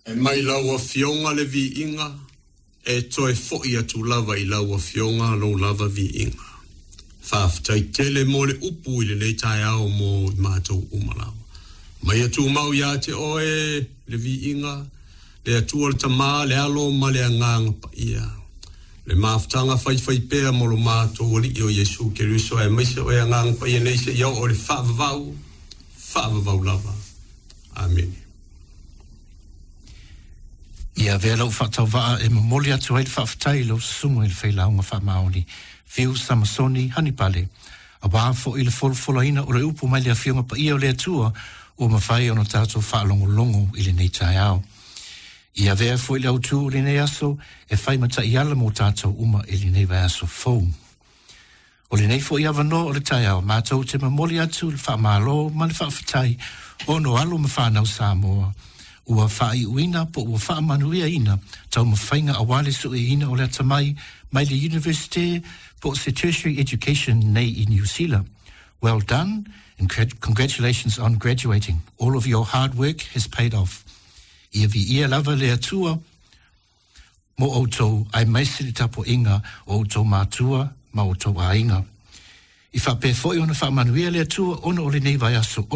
E mai lau Afioga le viiga, e toe fo'i atu lava i lau Afioga lou lava viiga. Faafetai tele mo le upu i lenei taeao mo i matou uma lava. Mai tumau ia te oe le viiga, le Atua le Tama, le Alo ma le Agaga Paia. Le mafutaga faifaipea mo lo matou Alii o Iesu Keriso aemaise o e Agaga Paia nei seia oo i le faavavau, faavavau lava. Amene. Ia avea lau faatauvaa e momoli atu ai le faafetai i lau susuga i le Failauga Faamaoni, Fiu Samasoni Hanipale, aua foi le folafolaina o le upu mai le Afioga Paia o le Atua ua mafai ona tatou faalogologo i lenei taeao. Ia avea foi le autu o lenei aso e fai ma taiala mo tatou uma i lenei vaiaso fou. O lenei foi avanoa o le taeao, matou te momoli atu le faamalo ma le faafetai ona o alo ma fanau Samoa ua faaiuina po ua faamanuiaina taumafaiga aua le sueina o le atamai mai le University po o se tertiary education nei i New Zealand. Well done and congratulations on graduating. All of your hard work has paid off. Ia viia lava le Atua mo outou aemaise le tapuaiga o outou matua ma outou aiga. I faapea foi ona faamanuia le Atua ona o lenei vaiaso.